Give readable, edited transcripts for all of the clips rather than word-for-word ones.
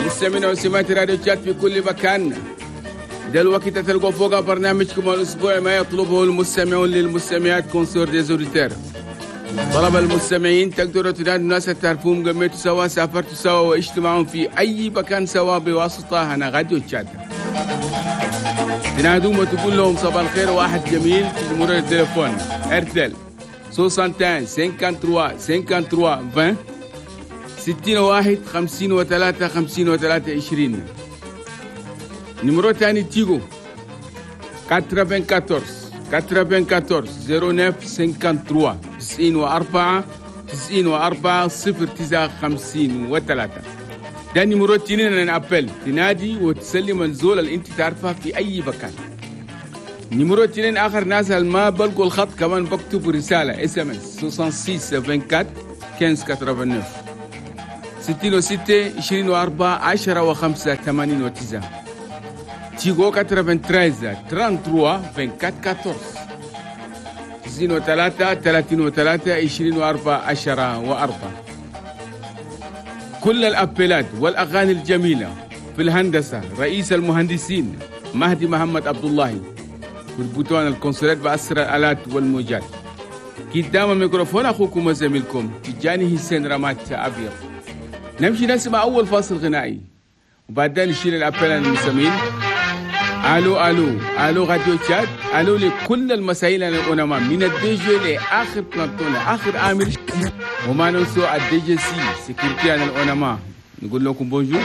مستمعينا ومستمعات راديو تشاد في كل مكان، ده الوقت تلقوا فوق برنامجكم الاسبوعي ما يطلبه المستمعون للمستمعات، concert des auditeurs. طلب المستمعين تقدروا تنادوا الناس تعرفوهم، قمتوا سوا، سافرتوا سوا، وعشتوا معهم في اي مكان سوا بواسطة هنا راديو تشاد. تنادوهم وتقول لهم صباح الخير واحد جميل في numéro التليفون Airtel 61 53 53 20 61 53 53 20. numéro تاني Tigo 94 94 09 53 94 94 09 53. ده numéro تنين appel، تنادي وتسلم الزول اللي انت تعرفها في اي مكان. numéro تنين اخر ناس اللي ما بلقوا الخط كمان بكتبوا رسالة SMS 66 24 15 89 66 24 10 و5 89. Tigo 93 33 24 14 93 33 24 10 و4. كل ال appel ات والأغاني الجميلة في الهندسة رئيس المهندسين مهدي محمد عبد الله، في ال bouton ال console ات بأسرع الآلات والموجات. قدام الميكروفون أخوكم وزميلكم تجاني حسين رمات أبيض. نمشي نسمع أول فاصل غنائي وبعدين نشيل ال appel المستمعين. الو الو الو راديو تشاد، الو لكل المسائل الأونما من ال DG لاخر planton اخر عامل، وما ننسوا ال DGC sécurité عن الأونما. نقول لكم bonjour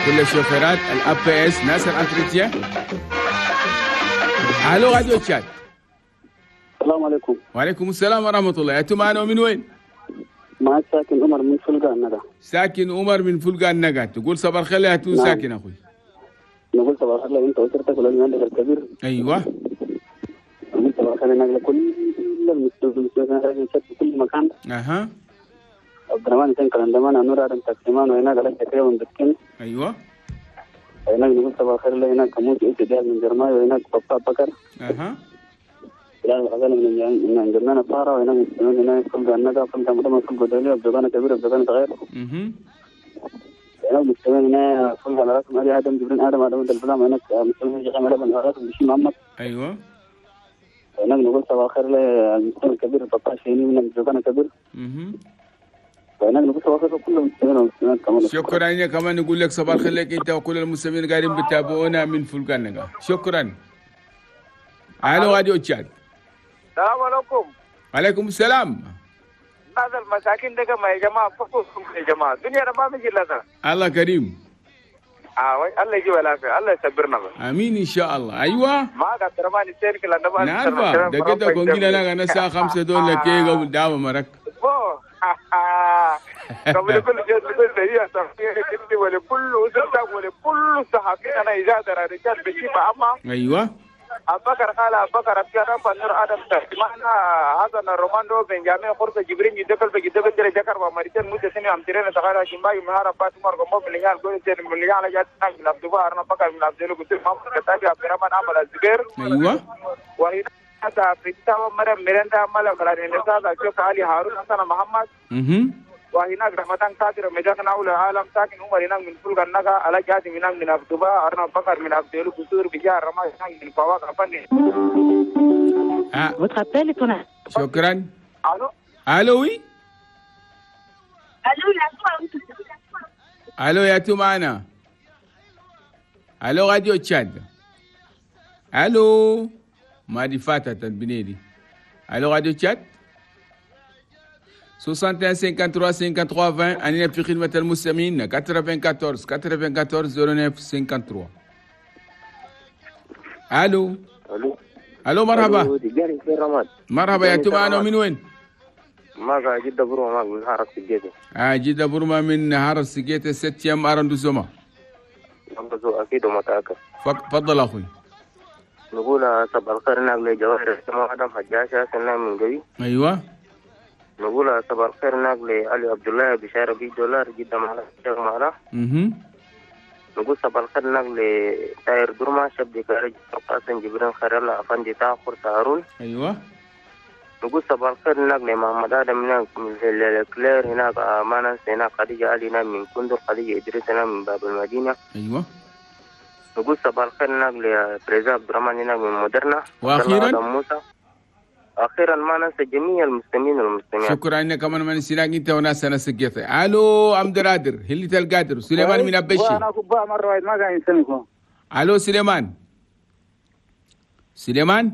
كل الشوفيرات ال APS ناس ال entretien. الو راديو تشاد. السلام عليكم. وعليكم السلام ورحمة الله. انتم معنا من وين؟ معك ساكن عمر من فلقة النقا. ساكن عمر من فلقة النقا، تقول صباح الخير يا تو. نعم. ساكن اخوي. نقول صباح الخير انت واسرتك وللمهندس الكبير. ايوه. نقول صباح الخير لكل المستمعين في كل مكان. اها. عبد الرحمن حسين كلندمان نور ادم تقسيمان وهناك على تكريم بسكين. ايوه. هناك نقول صباح الخير هناك موت إيش من جرماي، وهناك بابا بكر. اها. بلال الغزال من جرمان الطارة، وهناك مستمعين هناك فلقة النقا، فلقة مدمر، فلقة دولية، بزبانة كبيرة، بزبانة صغيرة. هناك مستمعين هنا فلقة على راسهم علي آدم جبرين آدم آدم الفلام، هناك مستمعين جمال لبن على راسهم بشي محمد. ايوه. هناك نقول صباح الخير للمستمع الكبير بابا شيني من بزبانة كبير. هناك نقول صباح الخير لكل المستمعين والمستمعات كمان. شكرا. يا كمان نقول لك صباح الخير لك انت وكل المستمعين قاعدين بتابعونا من فلقة النقا. شكرا. الو راديو تشاد. السلام عليكم. وعليكم السلام. هذا المساكين ده يا جماعة فكوكم يا جماعة، الدنيا ما بيجي لنا. الله كريم. الله يجيب العافية، الله يصبرنا بس. امين ان شاء الله. ايوه. ما قدر ما نسير كلا نبغى. نعرفه ده كده كونجينا لا انا الساعة 5 دول لك قبل دعوه مرك. قبل كل شيء كل هي صحيح ولكل وزرتك ولكل صحفي انا اذا رجال بشي اما. ايوه. أبكر قال أبكر أبكر نور آدم تسمعنا هذا الروماندو بنجامين خرصة جبرين جدكل بجدكل ترى جكر ومريتين موسى سني أمترين تغير شمباي مهارة بات مر قمو من لجان قول سين من لجان جات من عبد الله أرنا بكر من عبد الله قلت ما كتابي عبد الرحمن عمل الزبير. أيوة. وهنا في التاو مرة مرندا عمل قرار النساء شوف علي هارون حسن محمد. وهناك رحمتان قادر مجانا أول العالم ساكن عمر هناك من فلق النقا على جاد هناك من عبد الله أرنا بكر من عبد الله قصور بجار رما هناك من فواق أفني. شكرا. الو. الو oui. الو يا تو معنا. الو راديو تشاد. الو ما دي فاتت البنيدي. الو راديو تشاد. 61 53 53 20. أنا في خدمة المستمعين 94 94 09 53. ألو. ألو. ألو مرحبا. مرحبا يا توما، من وين؟ ما جدة بروما من حارة سجيتة. جدة بروما من حارة سجيتة septième arrondissement. أكيد ومتأكد. تفضل أخوي. نقول صباح الخير ناقل جواهر آدم حجاشة سنة من قوي. أيوه. نقول صباح الخير ناقل علي عبد الله بشارة بي دولار جدا معنا شيخ معنا. نقول صباح الخير ناقل تاير درما شبدي كارج قاسم جبران خير الله أفندي تاخر هارون. أيوه. نقول صباح الخير هناك لمحمد آدم هناك من الكلير هناك ما ننسى هناك خديجة علي هناك من كندر، خديجة إدريس هناك من باب المدينة. أيوة. نقول صباح الخير هناك لبريزا عبد الرحمن هناك من مودرنا. وأخيرا موسى. أخيرا ما ننسى جميع المسلمين والمسلمات. شكرا إنك كمان ما نسيناك أنت وناس ناس الجيثة. ألو أم درادر هلي القادر سليمان من أبشي. أنا كبا مرة واحد ما قاعد يسمعكم. ألو سليمان. سليمان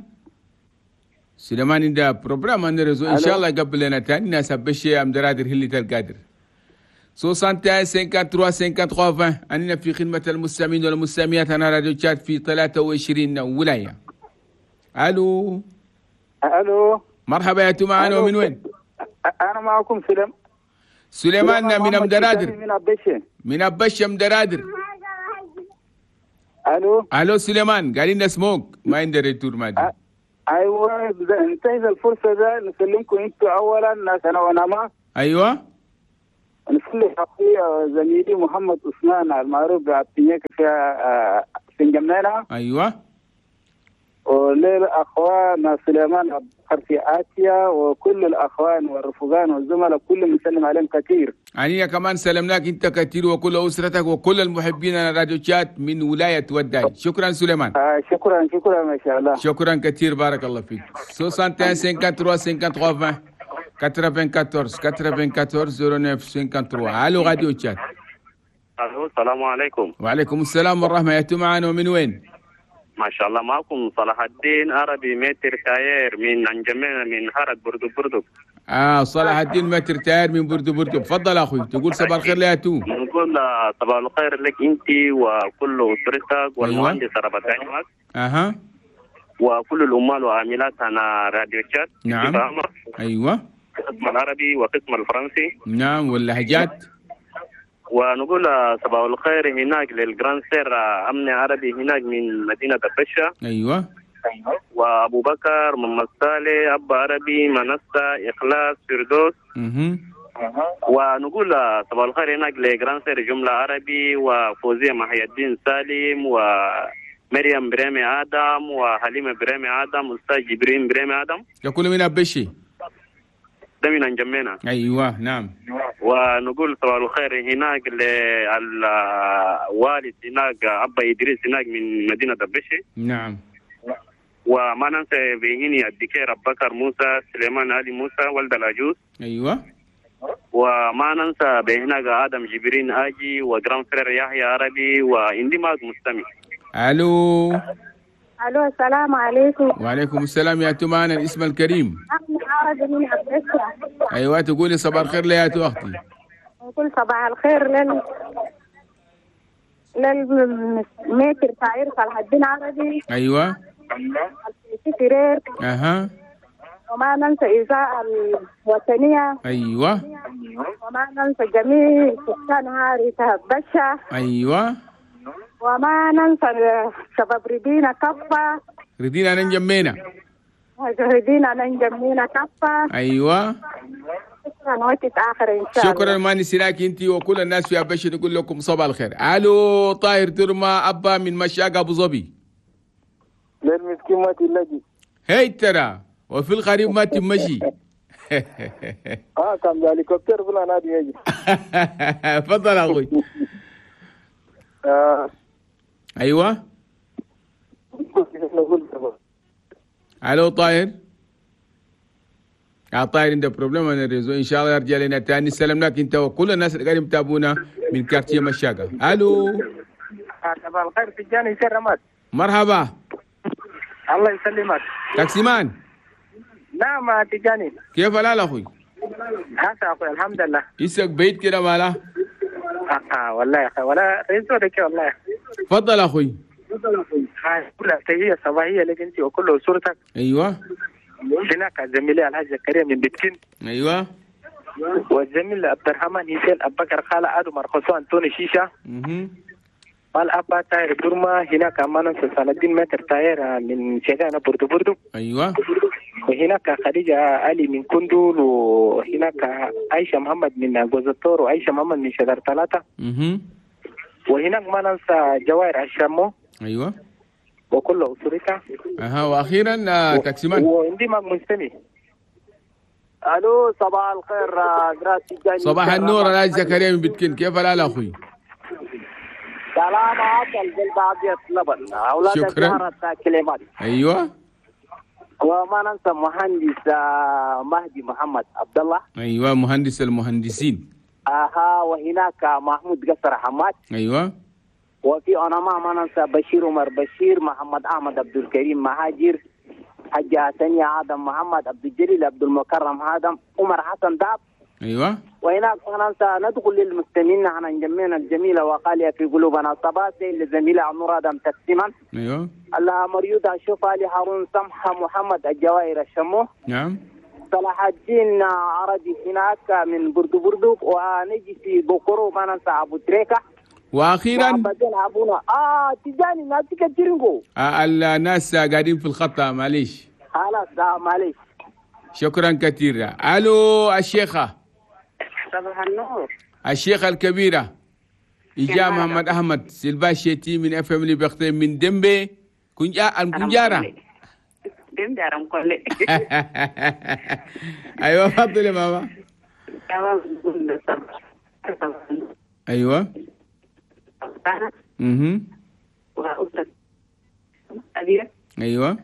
سليمان عنده problème عند réseau ان شاء الله يقبل لنا تاني ناس أبشي أم درادر هلي القادر. 61 53 53 20 أننا في خدمة المستمعين والمستمعات. أنا راديو تشاد في 23 ولاية. ألو الو مرحبا يا معنا ومن وين؟ انا معكم سليمان من مدرادر. من أبشة. من أبشة مدرادر. الو الو سليمان قال لنا سموك ما عنده retour ما ادري. ايوه انتهز الفرصه ده نسلمكم انتوا اولا ناس انا وانا ما. ايوه نسلم اخوي زميلي محمد عثمان المعروف بعبد في جمنانه. ايوه وللأخوان سليمان أبو بكر في آسيا وكل الأخوان والرفقان والزملاء كلهم نسلم عليهم كثير. يعني كمان سلمناك أنت كثير وكل أسرتك وكل المحبين على راديو تشات من ولاية وداي. شكرا سليمان. شكرا شكرا ما شاء الله. شكرا كثير بارك الله فيك. 61 53 53 20 94 94 09 53. ألو راديو تشات. ألو السلام عليكم. وعليكم السلام والرحمة. يا معنا ومن وين؟ ما شاء الله معكم صلاح الدين عربي maître tailleur من انجمينا من هرد بردو بردو. صلاح الدين maître tailleur من بردو بردو. تفضل اخوي تقول صباح الخير ليا تو. نقول صباح الخير لك انت وكل اسرتك والمهندس ربط عينك. اها وكل العمال وعاملات على راديو تشات. نعم ايوه قسم العربي وقسم الفرنسي. نعم واللهجات. ونقول صباح الخير هناك لل grande sœur أمن عربي هناك من مدينة البشة. أيوة. وأبو بكر محمد صالح أبا عربي منصة إخلاص فردوس. ونقول صباح الخير هناك ل grande sœur جملة عربي وفوزية محي الدين سالم ومريم بريمي آدم وحليمة بريمي آدم أستاذ جبرين بريمي آدم. يقول من أبشي. ده من انجمينا. ايوه نعم. ونقول صباح الخير هناك للوالد هناك ابا ادريس هناك من مدينه دبشي. نعم. وما ننسى بهني الدكير ابو بكر موسى سليمان علي موسى ولد العجوز. ايوه. وما ننسى بهناك ادم جبرين اجي و grand frère يحيى عربي واندماج مستمع. الو الو السلام عليكم. وعليكم السلام يا تمانا الاسم الكريم. أنا من أبشة. ايوه تقولي صباح الخير ليا اختي. نقول صباح الخير لل maître tailleur صلاح الدين عربي. ايوه. سرير. اها. وما ننسى إذاعة الوطنية. ايوه. وما ننسى جميع سكان هاري بشة. ايوه. وما ننسى شباب ردينا كفة. ردينا ننجمينا. ردينا ننجمينا كفة. ايوه. شكرا وقت آخر إن شاء الله. شكرا ما نسيناك أنت وكل الناس في أبشر نقول لكم صباح الخير. ألو طاهر ترمى أبا من مشاق أبو ظبي. للمسكين ما تلاقي. هي ترى وفي الغريب ما تمشي. كان هليكوبتر ولا نادي يجي. تفضل أخوي. ايوه. الو طاهر. طاهر عنده problème انا réseau ان شاء الله يرجع لنا تاني. سلمناك انت وكل الناس اللي قاعدين يتابعونا من quartier مشاقه. الو صباح الخير تجاني سير رماد. مرحبا. الله يسلمك. تاكسيمان. نعم تجاني. كيف الحال اخوي؟ هسه اخوي الحمد لله. يسك بيت كده ماله؟ والله يا اخي ولا réseau لك والله. تفضل اخوي. كل تحيه صباحيه لك انت وكل اسرتك. ايوه. هناك زميلي الحاج زكريا من بيتكين. ايوه. والزميل عبد الرحمن حسين ابو بكر خالة ادم مرقصو انتوني شيشه. مال ابا تاير دورما. هناك ما ننسى صلاح الدين maître tailleur من شيخانا بردو بردو. ايوه. وهناك خديجة علي من كندول، وهناك عائشة محمد من جوزتور، وعائشة محمد من شجر ثلاثة. وهناك ما ننسى جوائر الشامو. ايوه. وكل اسرتها. اها. واخيرا تاكسيمان. وعندي ما مستمع. الو صباح الخير جراسي. صباح النور الحاج زكريا من بتكين، كيف الحال اخوي؟ سلام عسل بالبعضية لبن اولاد شكرا. ايوه وما ننسى مهندس مهدي محمد عبد الله. ايوه مهندس المهندسين. اها وهناك محمود قصر حماد. ايوه وفي انا ما ننسى بشير عمر بشير، محمد احمد عبد الكريم مهاجر، حاج حسنية آدم محمد عبد الجليل عبد المكرم آدم، عمر حسن داب. ايوه وهناك ننسى ندخل للمستمعين عن جميعنا الجميلة وقاليه في قلوبنا صباسي للزميله نور ادم تقسيما. ايوه الله مريوده شوف علي هارون سمحه محمد الجواهر الشمو. نعم صلاح الدين عربي هناك من بردو بردو، ونجي في بكرو ما ننسى ابو تريكه. واخيرا ابونا تجاني ناتي كتيرنجو. الناس قاعدين في الخط معليش. خلاص معليش. شكرا كثير. الو الشيخه. صباح النور. الشيخه الكبيرة إجا محمد احمد سيلفا شيتي من اف ام ليبرتي من دمبي كنجا الكنجارة. دمبي ارم كله. ايوه تفضلي يا ماما. ايوه. ايوه.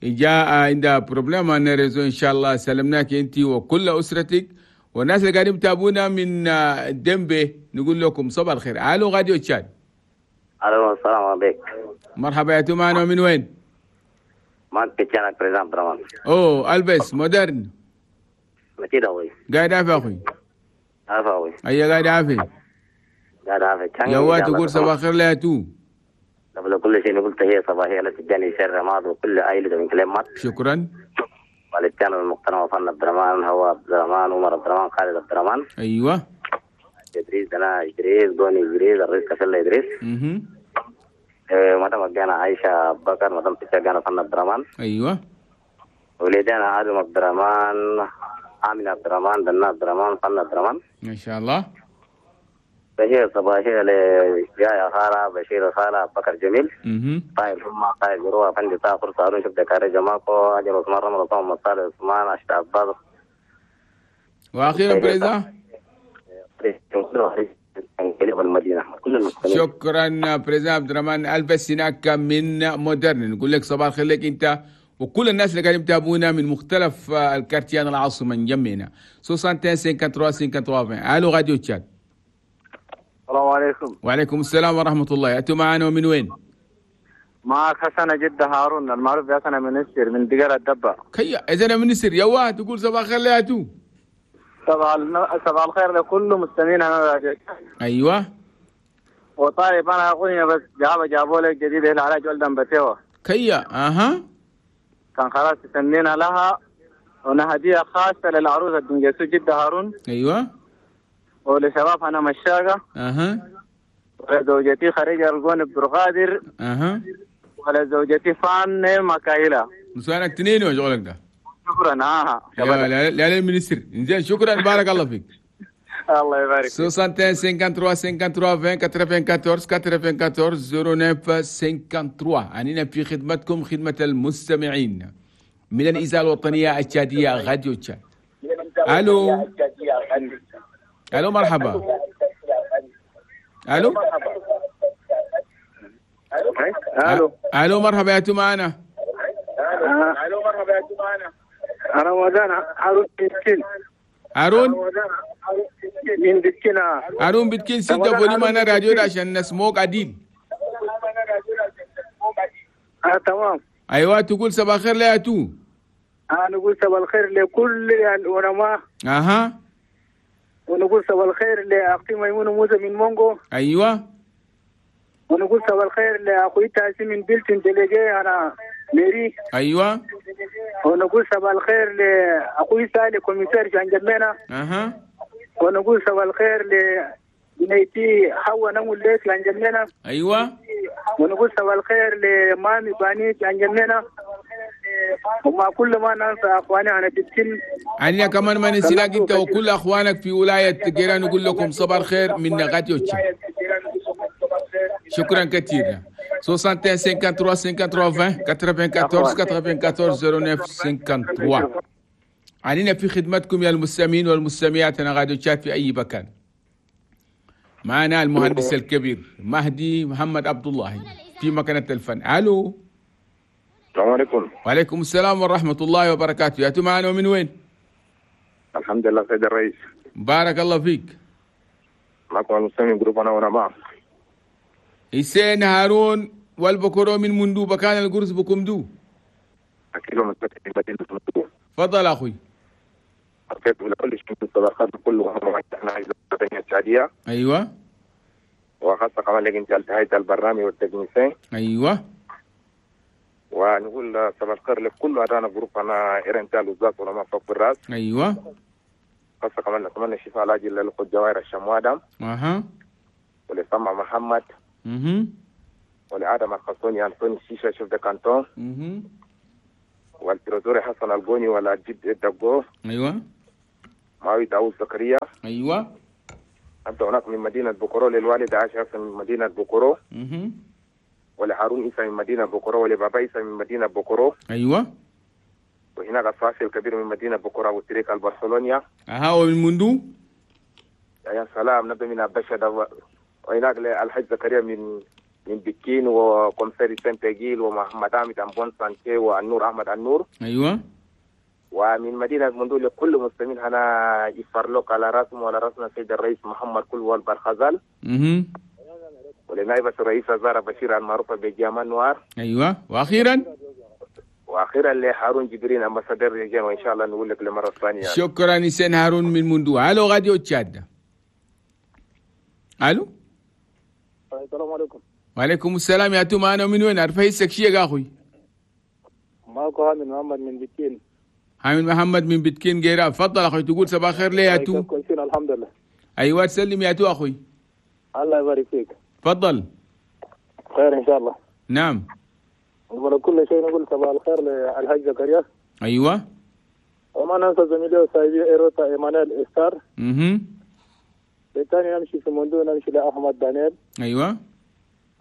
جاء عندها problème réseau ان شاء الله. سلمناك انت وكل اسرتك والناس اللي قاعدين يتابعونا من دمبي، نقول لكم صباح الخير. الو راديو تشاد. الو السلام عليكم. مرحبا يا معنا من وين؟ معك تشانك président عبد الرحمن. اوه البس مودرن. متى اخوي؟ قاعد عافية اخوي. عافية اخوي. ايوه قاعد عافية. قاعد عافية. يوا تقول صباح الخير لا تو. قبل كل شيء نقول تحية صباحية لتجاني شر رماد وكل عائلة من كلمات. شكرا. والتان المحترم وفن عبد الرحمن، هو عبد الرحمن، عمر عبد الرحمن، خالد عبد الرحمن. ايوه. ادريس انا ادريس دوني ادريس الرئيس كفل ادريس. مدام جانا عائشة بكر، مدام تجانا فن عبد الرحمن. ايوه. ولدنا آدم عبد الرحمن، آمين عبد الرحمن، دنا عبد الرحمن، فن عبد الرحمن. ما شاء الله. بشير صباحية لجاي خالة بشير خالة بكر جميل. طيب هم طيب جروة فندي طاقر صارون شفت كاري جماكو أجل عثمان رمضان مصالح عثمان عشت عباس. وأخيرا président. شكرا président عبد الرحمن البس هناك من مودرن. نقول لك صباح الخير لك انت وكل الناس اللي قاعدين يتابعونا من مختلف ال quartiers العاصمة نجمينا. 61 53 53. الو راديو تشاد. السلام عليكم. وعليكم السلام ورحمة الله. أنتم معنا ومن وين؟ معك حسن جدة هارون المعروف بحسن منسر من دقيرة الدبة. كيا إذا منسر يوا تقول صباح الخير يا تو. صباح الخير لكل مستمعين أنا. أيوة. وطيب أنا أغنية بس جابوا لك جديدة هنا على جولدن بتيوة. كيا أها. كان خلاص تسمينا لها ونهدية خاصة للعروسة الدنجسو جدة هارون. أيوة. ولشباب أنا مشاقة. أها. ولزوجتي خريجة الجون برغادر. أها. ولزوجتي فان مكايلة. نسوانك تنين وشغلك ده. شكرا. لا لا لا منسر. إنزين شكرا بارك الله فيك. الله يبارك. 61 53 53 20 94 94 09 53. أننا في خدمتكم خدمة المستمعين من الإذاعة الوطنية التشادية راديو تشاد. ألو. الو مرحبا. الو. الو. الو مرحبا يا معنا. الو مرحبا يا معنا. رمضان هارون بتكين. هارون من بتكين. هارون بتكين ستة volume انا راديو عشان نسموك عديل. تمام. ايوه تقول صباح الخير يا تو. انا اقول صباح الخير لكل العلماء. اها. ونقول صباح الخير لأختي ميمونة موسى من مونغو. أيوة. ونقول صباح الخير لأخوي تاسي من بيلتون délégué أنا ميري. أيوة. ونقول صباح الخير لأخوي سالي commissaire جان جمينا. أها. ونقول صباح الخير لبنيتي حوا نمو ليك جان جمينا. أيوة. ونقول صباح الخير لمامي باني جان جمينا. وما كل ما ننسى اخواني انا بتكل عندنا كمان ما ننساك انت وكل اخوانك في ولاية جيران. نقول لكم صباح الخير من راديو تشاد. شكرا كثيرا. 61 53 53 20 94 94 09 53. علينا في خدمتكم يا المستمعين والمستمعات انا راديو تشاد في اي مكان. معنا المهندس الكبير مهدي محمد عبد الله في مكانة الفن. الو. السلام عليكم. وعليكم السلام ورحمة الله وبركاته. يا معنا ومن وين؟ الحمد لله سيد الرئيس. بارك الله فيك. معكم المستمعين groupe انا وانا معه. حسين هارون والبكرو من مندو بكان القرص بكمدو. اكيد مدينة مندو. تفضل اخوي. كيف كل شيء الصداقات كله احنا السعودية. ايوه. وخاصة كمان لك انت انتهيت البرنامج وال technicien. ايوه. ونقول صباح الخير لكل ادانا groupe انا ايرنتال وزات ولا ما فوق الراس. ايوه. خاصة كمان نتمنى الشفاء العاجل للاخت جواهر الشموادم. اها. ولسمع محمد. اها. ولادم الخصوني انطوني الشيشة chef de canton. اها. وال trésorier حسن الجوني ولا جد الدقو. ايوه. معاوية داوود زكريا. ايوه. انت هناك من مدينة بوكورو للوالد عائشة حسن من مدينة بوكورو. اها. ولهارون عيسى من مدينة بوكورو ولبابا عيسى من مدينة بوكورو. ايوه. وهناك الصافي الكبير من مدينة بوكورو ابو تريك البرشلونيا. اها. ومن مندو؟ يا سلام نبدا من ابشة. وهناك الحاج زكريا من بكين و commissaire سنتجيل ومحمد عامد امبون سانتي والنور احمد النور. ايوه. ومن مدينة مندو لكل مسلمين هنا يفرلوك على راسهم وعلى راسنا سيد الرئيس محمد كل والبرخزال. اها. ولنائبة الرئيس زارة بشير المعروفة بجامان نوار. ايوه. واخيرا لهارون جبرين ambassadeur رجال، وان شاء الله نقول لك للمرة الثانية. شكرا حسين هارون من مندو. الو راديو تشاد. الو. السلام عليكم. وعليكم السلام. يا تو معنا من وين؟ عارف هيسك شيء يا اخوي. معكم حامد محمد من بكين. حامد محمد من بكين جيران. تفضل اخوي، تقول صباح الخير ليه يا تو؟ كويسين الحمد لله. ايوه تسلم يا تو اخوي. الله يبارك فيك. تفضل. خير ان شاء الله. نعم. قبل كل شيء نقول صباح الخير للحاج زكريا. ايوه. وما ننسى زميلي وصاحبي ايروتا ايمانويل استار. اها. بالثاني نمشي في مندو، نمشي لاحمد دانيال. ايوه.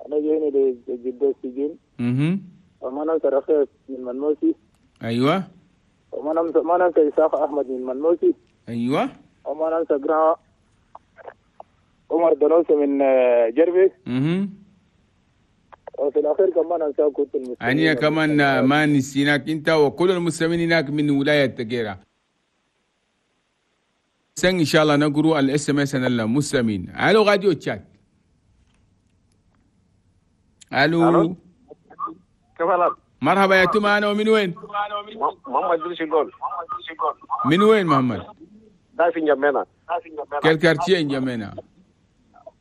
انا جايني لجدة السجين. اها. وما ننسى رخيص من منوسي. ايوه. وما ننسى ما ننسى اسحاق احمد من منوسي. ايوه. وما ننسى جرا عمر دنوسي من جربي. اها. وفي الاخير كمان انسى كنت المسلمين. أنا كمان ما نسيناك انت وكل المسلمين هناك من ولاية تجيرة. ان شاء الله نقروا ال SMS المسلمين. الو راديو تشاد. الو. كيف حالك؟ مرحبا يا توما، انا ومن وين؟ محمد دريس الجول. من وين محمد؟ دا في نجمينا. quel quartier نجمينا؟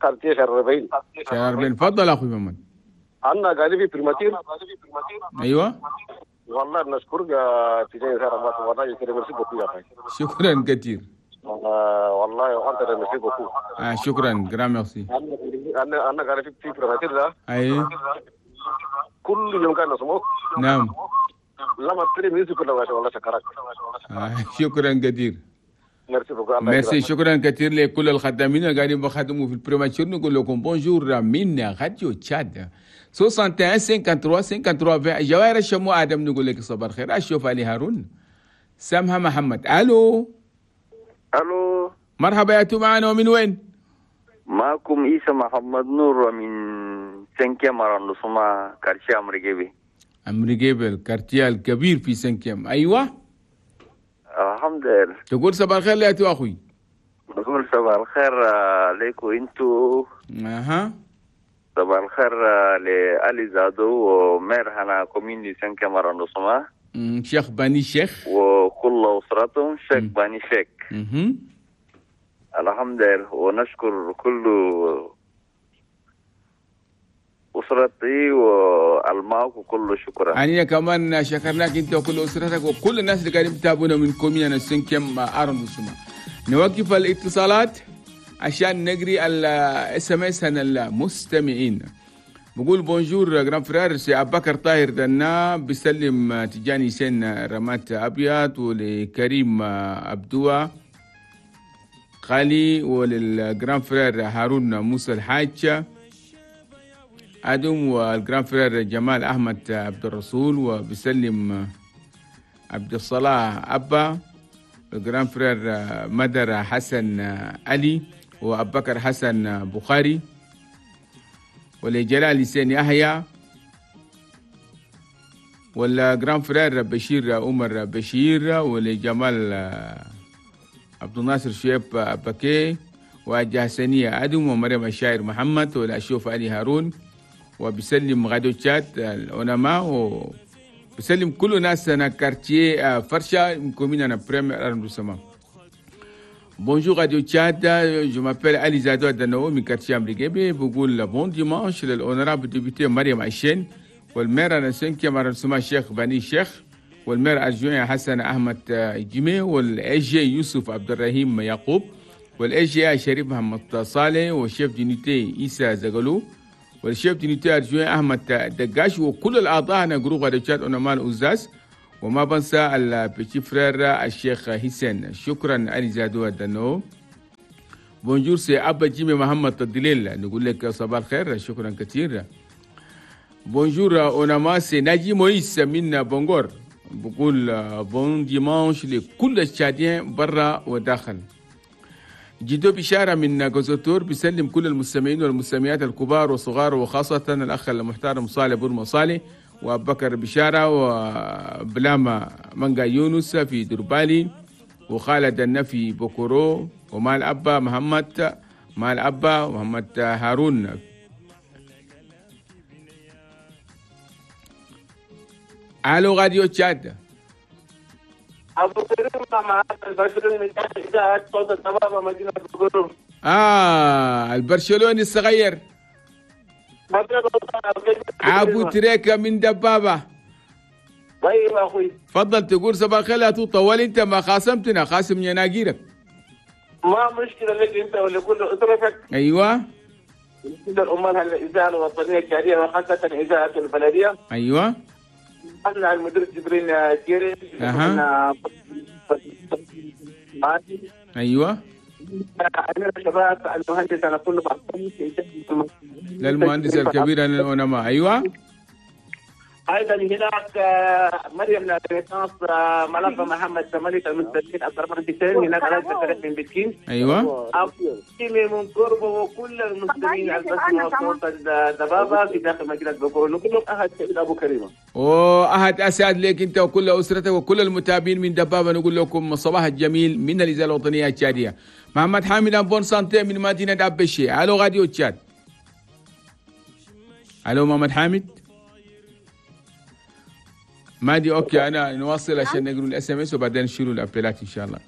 quartier شهر 40. شهر 40. تفضل اخوي محمد. انا قاعد في primature. ايوه. والله نشكرك يا تيجي والله merci beaucoup يا اخي. شكرا كثير. والله انت merci beaucoup. شكرا grand merci. انا قاعد في primature ده. ايوه. كل يوم كان نسمعك. نعم. لما تري musique كلها والله شكرك. شكرا كثير. merci beaucoup. ميرسي شكرا كثير لكل الخدامين اللي قاعدين بخدموا في ال primature. نقول لكم bonjour من راديو تشاد 61 53 53 20. جواهر الشمو ادم نقول لك صباح الخير. اشوف علي هارون سامها محمد. الو. الو. مرحبا يا تو معنا ومن وين؟ معكم عيسى محمد نور من cinquième arrondissement quartier امريكيبي. امريكيبي ال quartier الكبير في cinquième. ايوه. الحمد لله. تقول صباح الخير يا تو اخوي. نقول صباح الخير عليكم انتو. اها. صباح الخير لعلي زادو و maire هنا commune du cinquième arrondissement. شيخ باني شيخ وكل اسرتهم شيخ باني شيخ. الحمد لله، ونشكر كل أسرتي والماك وكل شكرا. أنا كمان شكرناك أنت وكل أسرتك وكل الناس اللي قاعدين يتابعونا من commune cinquième arrondissement. نوقف الاتصالات عشان نقري ال SMS المستمعين. بقول bonjour grand frère c'est أبكر طاهر دنا بيسلم تجاني سين رمات أبيض ولكريم أبدوة خالي ولل grand frère هارون موسى الحاج. ادم، وال grand frère جمال احمد عبد الرسول، وبسلم عبد الصلاح ابا، ال grand frère مدر حسن علي، وابو بكر حسن بخاري، ولجلال حسين يحيى، وال grand frère بشير عمر بشير، ولجمال عبد الناصر شيب بكي، وجهسنية أدم، ومريم الشاعر محمد، والأشوف علي هارون، وبسلم غادو تشاد العلماء، وبسلم كل ناس أنا quartier فرشة commune أنا premier arrondissement. Bonjour Radio Tchad, je m'appelle Ali Zado Adano من quartier أمريكي. بقول bon dimanche لل honorable député مريم عشين، وال maire أنا cinquième arrondissement الشيخ بني الشيخ، وال maire adjoint حسن أحمد جيمي، وال SG يوسف عبد الرحيم يعقوب، وال SG شريف محمد صالح، وال chef d'unité عيسى زغلو، وال chef d'unité adjoint احمد دقاش، وكل الاعضاء انا groupe راديو تشاد اونما الاوزاس، وما بنسى ال petit frère الشيخ حسين. شكرا علي زادو دنو. Bonjour c'est ابا جيمي محمد الدليل، نقول لك صباح الخير، شكرا كثير. Bonjour اونما، c'est ناجي مويس من بونغور، بقول bon dimanche لكل ال Tchadiens برا وداخل. جدو بشارة من جوزوتور بيسلم كل المستمعين والمستمعات الكبار والصغار، وخاصة الأخ المحترم صالح بورما صالح، وأبو بكر بشارة، وبلاما منقا يونس في دربالي، وخالد النفي بوكورو، ومال أبا محمد، مال أبا محمد هارون. ألو راديو تشاد. ابو كريم معاك البرشلوني من تحت اذاعة صوت الضبابه مدينة بوكورو. البرشلوني الصغير ابو تريكه من دبابة. طيب اخوي تفضل تقول صباح الخير. لا تطول، انت ما خاصمتنا، خاصم يناقيرك. ما مشكلة لك انت ولكل اسرتك. ايوه كل الامال الاذاعة الوطنية الجارية وخاصة اذاعة البلدية. ايوه أنا المدير جبرين كيري. ايوه أنا الشباب المهندس انا كله للمهندس الكبير انا انا ايوه. ايضا هناك مريم لابيتانس ملف محمد ملك المستشير عبد الرحمن حسين، هناك علاج من بكين. ايوه من قربه وكل المسلمين البسمة وصوت الدبابة في داخل مدينة بوكورو، كلهم احد سعيد ابو كريمة. واحد اسعد لك انت وكل اسرتك وكل المتابعين من دبابة. نقول لكم الصباح الجميل من الاذاعة الوطنية التشاديه. محمد حامد en bonne santé من مدينة ابشي. الو راديو تشاد. الو محمد حامد. مادي OK انا نواصل عشان نقرا ال SMS وبعدين نشيلوا ال appel ات ان شاء الله.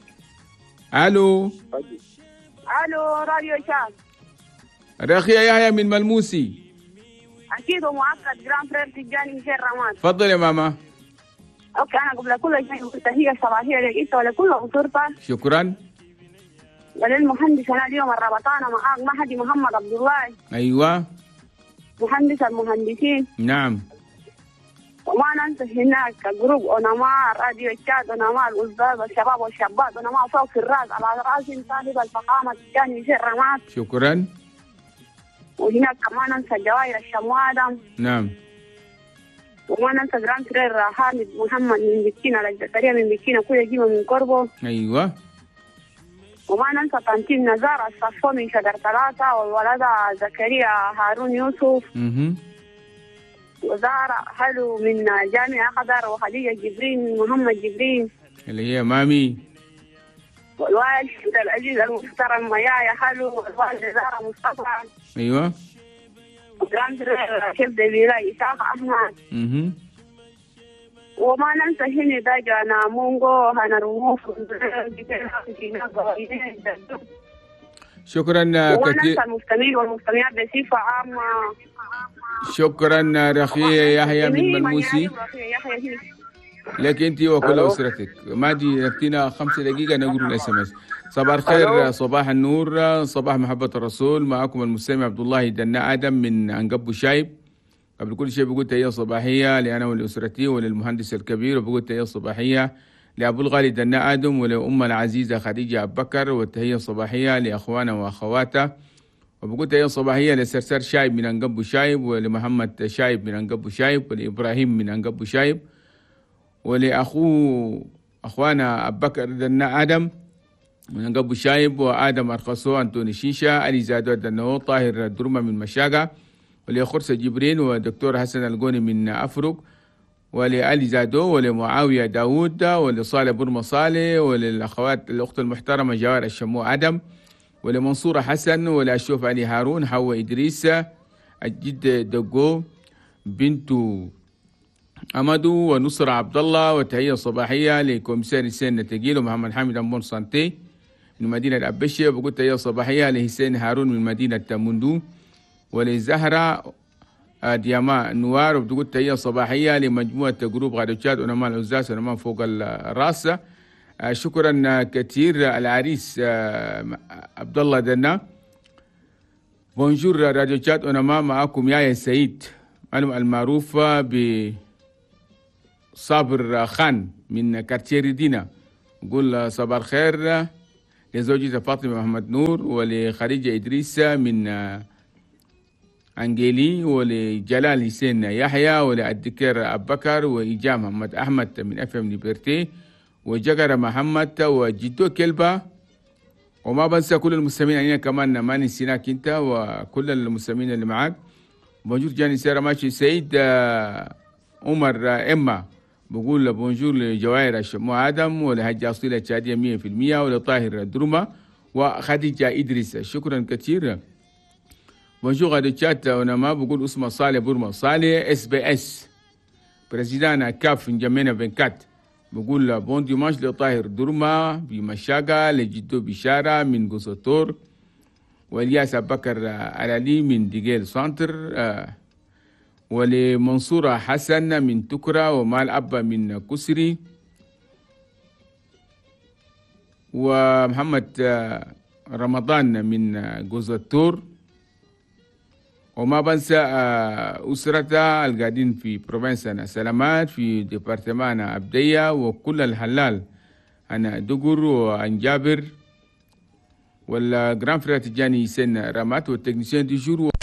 الو الو راديو تشاد. رخية يحيى من ملموسي. اكيد ومؤكد grand frère تجاني مشير رمان. تفضل يا ماما. OK انا قبل كل شيء تحية صباحية لك انت ولكل اسرتك. شكرا. وللمهندس انا اليوم الربطانه معاك مهدي محمد عبد الله. ايوه مهندس المهندسين. نعم. وما ننسى هناك groupe اونما راديو تشاد اونما الأستاذ الشباب والشابات اونما فوق في الراس على راسهم صاحب الفخامة تجاني مشير رماد. شكرا. وهناك كمان ننسى جواهر الشموادة. نعم. وما ننسى grand frère حامد محمد من بكينا الجزائرية من بكينا كل جيمة من قربه. أيوة. وما ننسى tantine نزار الصفو من شجر ثلاثة، والولد زكريا هارون يوسف. وزارة حلو من جامعة قدر، وخديجة جبرين محمد جبرين اللي هي مامي، والوالد العزيز المحترم ميايا حلو، والوالد زارة مصطفى. أيوة. و grand frère chef de village إسحاق أحمد. وما ننسى هنا داجا مونغو هنا رموف. شكرا كثير. المستمعين والمستمعات بصفة عامة. شكرا رخية يحيى من ملموسي. لك انت وكل اسرتك. مادي يكفينا 5 دقيقة نقول ال SMS. صباح الخير، صباح النور، صباح محبة الرسول. معكم المستمع عبد الله دنا ادم من انقبو شايب. قبل كل شيء بقول تحية صباحية لأنا ولأسرتي وللمهندس الكبير، وبقول تحية صباحية لأبو الغالي دنا آدم ولأم العزيزة خديجة أبو بكر، والتحية الصباحية لأخوانا وأخواته. وبقول تحية صباحية لسرسر شايب من أنقبو شايب، ولمحمد شايب من أنقبو شايب، ولإبراهيم من أنقبو شايب، ولأخوه أخوانا أبو بكر دنا آدم من أنقبو شايب، وآدم أرخصو أنتوني شيشة، علي زادو دنو، طاهر درمة من مشاقة، ولخرسة جبرين ودكتور حسن القوني من أفرق، ولعلي زادو، ولمعاوية داوود، ولصالح برمة صالح، وللأخوات الأخت المحترمة جوار الشمو آدم، ولمنصورة حسن، ولأشوف علي هارون، حواء إدريس، الجد دقو، بنت أمدو، ونصر عبد الله. وتحية صباحية ل commissaire حسين تقيل ومحمد حامد en bonne santé من مدينة أبشة. بقول تحية صباحية لحسين هارون من مدينة مندو، ولزهرة دياما نوار. وبتقول تحية صباحية لمجموعة groupe راديو تشاد ونما العزاز ونما فوق الراس. شكرا كثير العريس عبد الله دنا. bonjour راديو تشاد ونما، معكم يا سعيد المعروف ب صابر خان من quartier ريدينا. نقول صباح الخير لزوجته فاطمة محمد نور، ولخديجة إدريس من أنجيلي، ولجلال حسين يحيى، وللدكتور أبو بكر، وإيجا محمد أحمد من FM Liberté، وجقر محمد، وجدو كلبة. وما بنسى كل المستمعين علينا كمان، ما نسيناك انت وكل المستمعين اللي معاك. bonjour جاني سيرة ماشي سيد عمر إما. بقول bonjour لجواهر الشمو آدم، ولهجة أصيلة تشادية 100%، ولطاهر درمة، وخديجة إدريس. شكرا كثير. bonjour راديو تشاد ونما، بقول اسمه صالح بورما صالح SBS président CAF نجمينا 24. بقول bon dimanche لطاهر درما بمشاقة، لجدو بشارة من قصطور، والياس بكر العلي من ديجيل centre، ولمنصورة حسن من تكرة، ومال أبا من كسري، ومحمد رمضان من جوزتور. وما بنسى أسرته القاعدين في province سلامات، في département أبدية، وكل الحلال أنا دقر وأنجابر، وال grand frère تجاني سن رامات، وال technicien du jour.